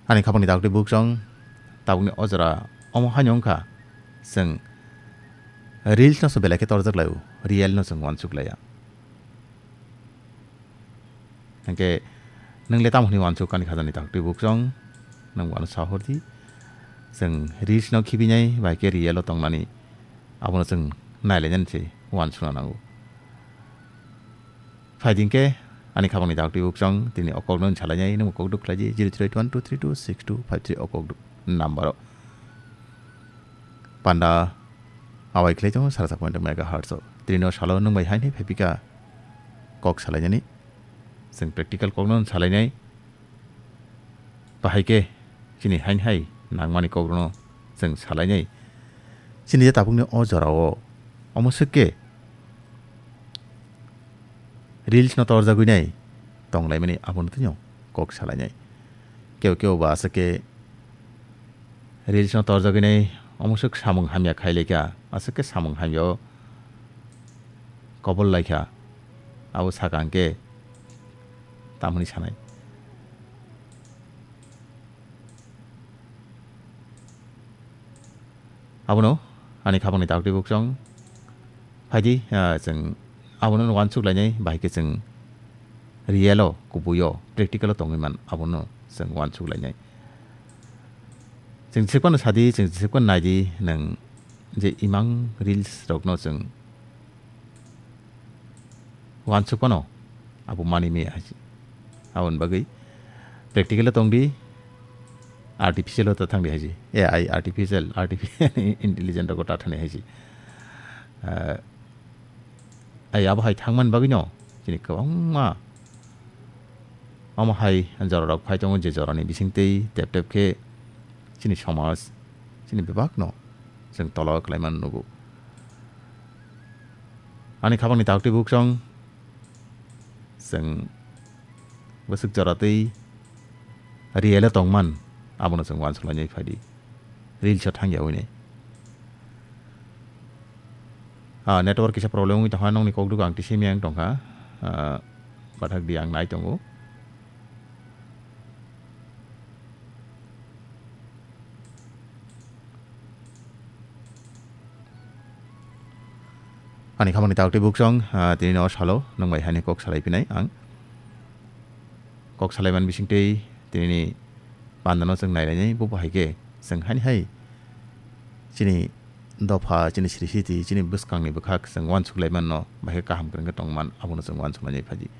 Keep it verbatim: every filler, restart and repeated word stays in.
Ani khapangni daktwi buksong, tabukni o jora omo haino wngkha, chwng reels no se belai khe torjak lai-o, real no chwng uansuk laiya. Hwnkhe nwng le tamo hwnwi uansuk ani khajani daktwi buksong, nwng bono sahor di. Chwng reels no khibinai bai khe real o tongmani abono chwng nailainani se uansukna nango. Phaidi hwnkhe ani khapangni daktwi buksong tini o kokno salainai, nwng kok duk khlai di, zero three eight one two three two six two five three o kok duk number o. Panda awai khlai tongo sara sak point megahertz o. Tini o salo nwng bai haini phaipika kok salainani. Chwng practical kokno salainai. Bahai khe chini haini hai nangmani kokrokno chwng salainai. Chini je tabukni o jorao omo swk khe reels no torjagwi nai tonglaimani abono tino kok salainai. Kebo kebo ba aswk khe reels no torjagwi nai omo swk samung hamya khai laikha, aswk khe samung hamya o kobol laikha, abo saka hwnkhe tamoni sanai. Abono ani khapangni daktwi buksong phaidi, ah, chwng abono uansuk lainai, bahai khe chwng real o, kubui o, practical o tongwi man, abono chwng uansuk lainai. Chwng jesa phano sadi, chwng jesa phano naidi, nwng je imang reels rokno chwng uansuk phano abo mani maya hai se. Aboni bagwi practical o tongdi, artificial o ta thangdi hai se. A I, artificial, artificial intelligent rogo ta thani hai se. Ah, ai abo hai thangmani bagwino chini kwbangma omo hai jorarok phai tongo, je jorani bisingtwi tep tep khe chini somaj, chini bebakno chwng tolo khlaimani nugo. Ani khapangni daktwi buksong chwng bwswk joratwi real o tongman, abono chwng uansuk lainai phaidi. Reels o thangya hwnwi. Ah, network kisa problem wngwi tongkha, nokni kokduk ang tisa miyang tongkha. Ah, bathak di ang nai tongo. Ani khapangni daktwi buksong, ah, tini no salo, nwng bai haini kok salai phinai ang. Kok salai man bisingtwi tini ni panda no chwng nai lainai, bo bo hai khe chwng haini hai chini dopha, chini siri siti, chini bwskang ni bwkhak chwng uansuk lai man no, bai khe kaham kwrwng khe tong man, abono chwng uansuk lainai phaidi.